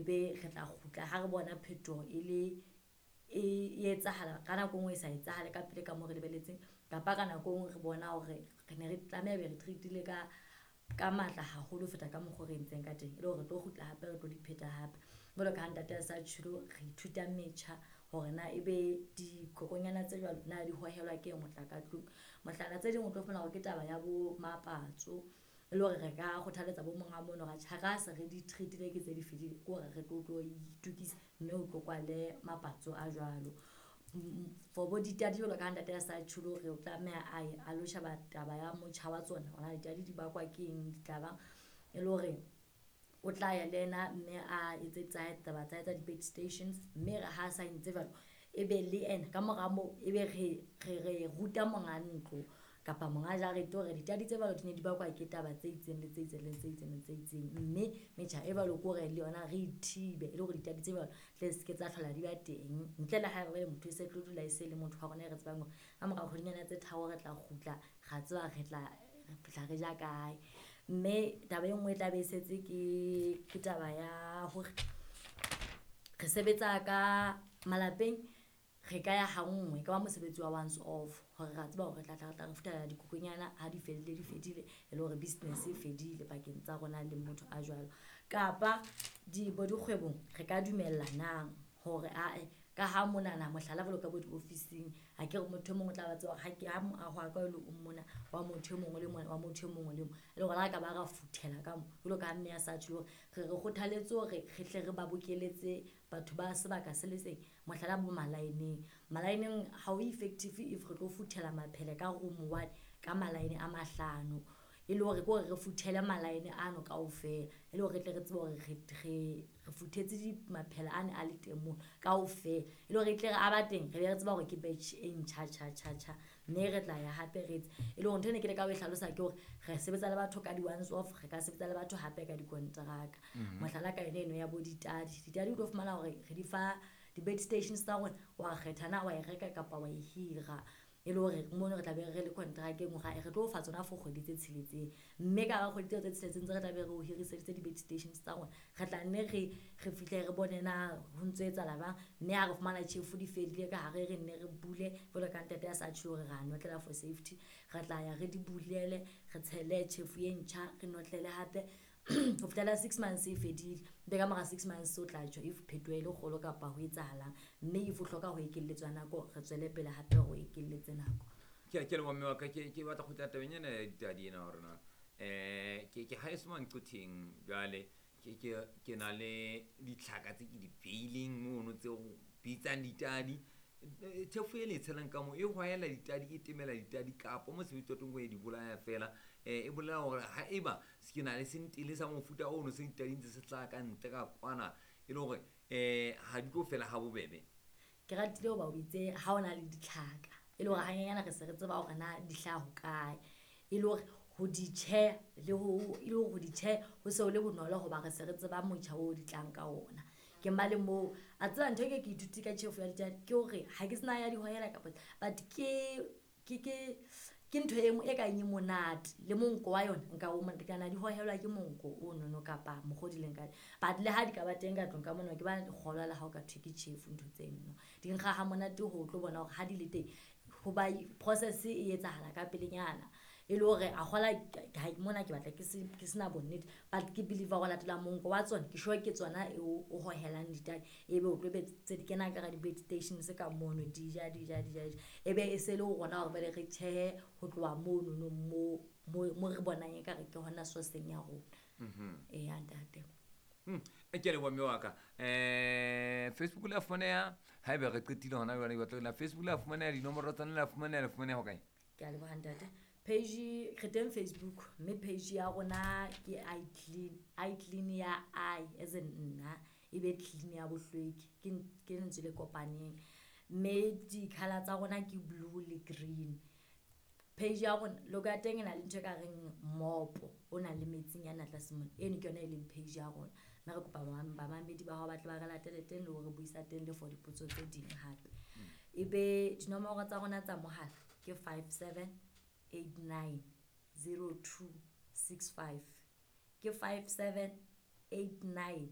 Ebe re tla kgutla ha re bona phetoho e le e etsahala ka nako e nngwe e sa etsahale ka pele ka moo re lebelletseng. Kapa ka nako e nngwe re bona hore re ne re tlameha ebe re treat-ile ka matla haholo ho feta ka mokgo re entseng ka teng. E le hore re tlo kgutla hape re tlo di pheta hape. Jwalo ka ha ntate a sa tjholo, re ithuta metjha hore na ebe dikokonyana tse jwalo na di hohelwa ke eng ho tla ka tlung. Mohlala tse ding o tlo fumana hore ke taba ya bo mapatso, e le hore re ka kgothaletsa bo monga mono hore atjhe ha se re di treat-ile ke tse di fedile. Ke hore re tlo itokisa mme o tlo kwale mapatso a jwalo. For bo ditadi jwalo ka ha ntate a sa tjholo hore o tlameha a ye a lo sheba taba ya motjha wa tsona hore na ditadi di bakwa ke eng, di tlabang. E le hore o tla ya le yena mme a etse tsa hae taba tsa hae tsa di-bait stations. Mme re ha sa entse jwalo, ebe le ena ka mora moo ebe re ruta monga ntlo kapa monga jarete hore ditadi tse jwalo di ne di bakwa ke taba tse itseng le tse itseng le tse itseng le tse itseng. Mme metjha e jwalo ke hore le yona re thibe e le hore ditadi tse jwalo tle se ke tsa hlola di ba teng. Ntle le haeba jwale motho e se tlo dula e se le motho wa rona e re tsebang hore ka mora kgwedinyana tse tharo re tla kgutla, ra tseba re tla re fihla re ja kae. Mme taba e nngwe e tla be e setse ke taba ya hore re sebetsa ka malapeng. Re ka ya ha nngwe, e ka ba mosebetsi wa once off hore re a tseba hore re tla tla re tla re futhela dikokonyana ha di fedile di fedile. E le hore business e fedile pakeng tsa rona le motho a jwalo. Kapa di bo dikgwebong re ka dumellanang hore ae ka ha monana mohlala jwalo ka bo diofising. Akere motho e mong o tla ba tseba hore ha ke ha moaho wa ka o le o mona wa motho e mong le mona wa motho e mong le mong. E le hore le ha ka ba ra futhela ka mo jwalo ka ha mme a sa tjho hore re kgothaletse hore re hle re ba bokeletse batho ba sebaka se le seng. Mohlala bo malaeneng. Malaeneng ha o effective if re tlo futhela maphele ka room one ka malaene a mahlano. E le hore ke hore re futhele malaene ano kaofela. E le hore re tle re tsebe hore re futhetse di maphele ane a le teng mono kaofela. E le hore e tle re a ba teng, re be re tseba hore ke batch e ntjha tjha tjha tjha. Mme re tla ya hape re etse. E le hore ntho e ne ke leka ho e hlalosa ke hore re sebetsa le batho ka di-once off, re ka sebetsa le batho hape ka dikonteraka. Mohlala ka yona eno ya bo ditadi. Ditadi o tlo fumana hore re di fa di-bait stations tsa rona, wa kgetha na wa e reka kapa wa e hira. E le hore mono re tla be re le contract-eng hore re tlo fa tsona for kgwedi tse tsheletseng. Mme ka hara kgwedi tseo tse tsheletseng tse re tla be re o hiriseditse di-bait stations tsa rona, re tla nne re fihle re bone na ho ntso etsahala jwang. Mme ha re fumana tjhefu di fedile ka hare, re nne re bule jwalo ka ntate a sa tjho hore ra notlela for safety. Re tla ya re di bulele, re tshele tjhefu e ntjha, re notlele hape ho fihlela 6 months e fedile. Ebe ka mora 6 months o tla tjho if phetoho e le kgolo kapa ho etsahalang. Mme if o hloka ho ekelletswa nako, re tswele pele hape re o ekelletse nako. Ke a leboha mme wa ka, ke batla ho kgutlela tabeng ena ya ditadi ena hore na ke haeso Manqotheng jwale ke na le ditlhaka tse ke di beileng mono tse o bitsang ditadi. Tjhefo e le e tshelang ka moo e hwaela ditadi, e temela ditadi kapa mosebetsi wa teng ko e di bolaya fela. E bolela hore haeba se ke na le sentele sa mofuta ono se ditadi ntse se hlaha ka ntle ka kwana, e le hore ha di tlo fela ha bobebe. Ke ratile hoba o itse ha o na le ditlhaka, e le hore hanyenyana re se re tseba hore na di hlaha hokae. E le hore ho di tjheha le ho, e le hore ho di tjheha ho se ho le bonolo hoba re se re tseba motjha oo di tlang ka ona. Ke mma le moo, a tseba ntho e ke ithutile ka tjhefo ya ditadi ke hore ha ke sena ya di hohela kapa, but ke ntho e nngwe e kang e monate le monko wa yona nka o monate, kana di hohelwa ke monko o nono kapa mokgwa o di leng ka teng. But le ha di ka ba teng ka tlung ka mona, ke ba kgolwa le ha o ka thwe ke tjhefu ntho tseno. Di nkga ha monate ho tlo bona hore ha di le teng, ho ba process e etsahala ka pelenyana. E le hore a kgola ha mona ke batla ke sena bonnete, but ke believe hore latela monko wa tsona, ke sure ke tsona e o hohelang ditadi. Ebe o tlo be tse di kena ka hara di-bait stations ka mono, di ja, di ja, di ja, di ja. Ebe e se le ho rona hore jwale re tjhehe ho tloha mono no mo re bonang ekare ke hona source-eng ya rona. Eya ntate. Ke a leboha mme wa ka. Facebook le a fumaneha, haeba re qetile hona jwale, ke batla la Facebook le a fumaneha, dinomoro tsa lona le a fumaneha, le fumaneha hokae? Ke a leboha ntate. Page re teng Facebook, mme page ya rona ke I clean, I clean ya I as in nna, e be clean ya bohlweki, ke lentswe le kopaneng. Mme di-colour tsa rona ke blue le green. Page ya rona logo ya teng e na le ntho e ka reng mopo o nang le metsinyana tlase mona. Eno ke yona e leng page ya rona. Mme re kopa bamamedi ba hao ba tle ba re latele teng le hore buisa teng le for dipotso tse ding hape. Ebe dinomoro tsa rona tsa mohala ke 57890265. Ke 5789